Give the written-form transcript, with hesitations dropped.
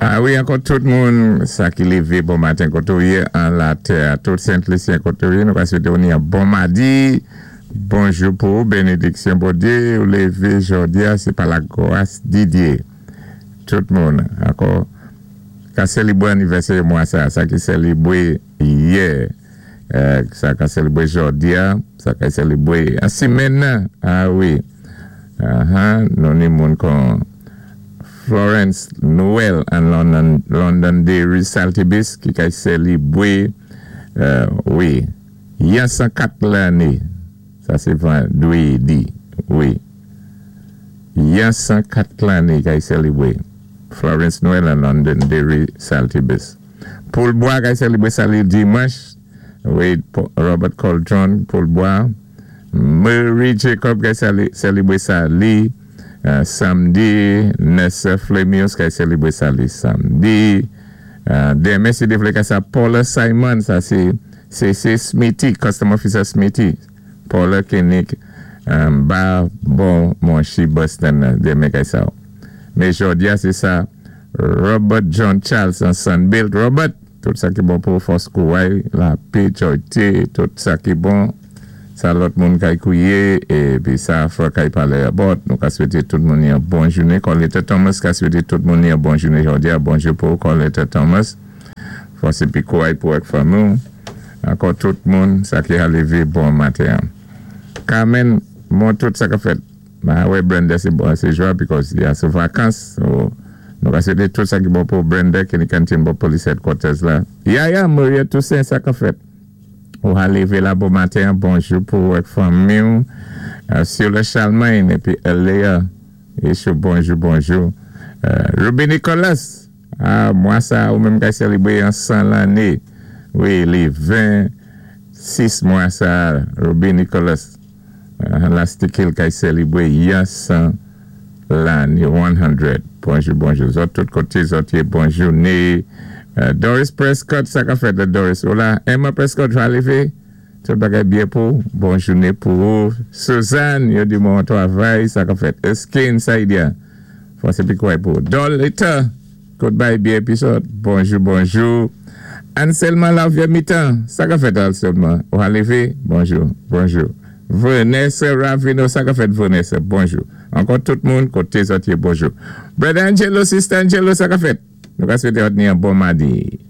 A wi, ankò tout moun sa ki lévé bon maten koté ou yé an latè, tout Sent Lisyen koté ou yé, nou ka swété ou ni an bon madi, bonjou pou ou, bénédiksyon Bondyé, ou lévé jòdi-a, sé pa la gwas di Dyé. Tout moun, ankò, ka sélibwé anivèsè mwa sa, sa ki sélibwé yè, sa ka sélibwé jòdi-a, sa ka sélibwé an simenn nan, a wi, nou ni moun kon Florence Noel an London, Londonderry Saltibus ki kay sélibwé, wi, yan 104 lanné, sa sé vandwédi, wi, yan 104 lanné kay sélibwé, Florence Noel an Londonderry Saltibus. Paul Bois kay sélibwé sa li dimanch, wi, Robert Coldron, Paul Bois, Mary Jacob kay sélibwé sa li samdi, Nessa Flemius kay sélibwé sa li samdi, denmen si Dye vlé ka sa Paula Simon, sa sé C.C. Smithy, Custom Officer Smithy, Paula Koenig, ba bon Monchi Boston, denmen kay sa. Mais jòdi-a sé sa Robert John Charles an Sunbelt. Robert, tout sa ki bon pou fòs kouway, lapè, joyté, tout sa ki bon, sa lòt moun kay kouwiyé, épi sa frè kay palé about. Nou ka swété tout moun yon bon jouné. Coletta Thomas ka swété tout moun yon bon jouné jòdi-a. Bonjou pou Coletta Thomas. Fòs épi kouway pou ak fanmi. Ankò tout moun, sa ki a lévé bon maten. Carmen, bon tout sa ka fèt. Ba wè Brenda sé bon, sé jwa because ya sou vakans. So, nou ka swété tout sa ki bon pou Brenda ki ni kantin bò police headquarters la. Ya, Maria Toussaint, sa ka fèt. Ou a lévé la bon maten, bonjou pou ak fanmi. Sur le Charlemagne épi Eléa. É chou bonjou, bonjou. Ruby Nicolas. Ah, mwa sa, ou menm ki sélibwé an 100 lanné. Wi, li 26 mwa sa, Ruby Nicolas. Lastikil kay sélibwé yan 100 lanné, 100. Bonjou, bonjou. Zòt tout koté, zòt yé bonjou. Né, Doris Prescott, sa ka fèt Doris. Hola, Emma Prescott, va lévé. Tout bagay byen pou, bon jouné pou ou. Suzanne, yo di bon travay, sa ka fèt. Eskin, Saïdia, fòs épi kouway pou. Dolita, kout bay byen épisode. Bonjou, bonjou. Anselma Lavie mi-temps, sa ka fèt Anselma. Ou a lévé, bonjou, bonjou. Vanessa Ravino, sa ka fèt Vanessa, bonjou. Ankò tout moun, koté zòt yé, bonjou. Brother Angelo, Sister Angelo, sa ka fèt. Nou ka swété ni an bon madi.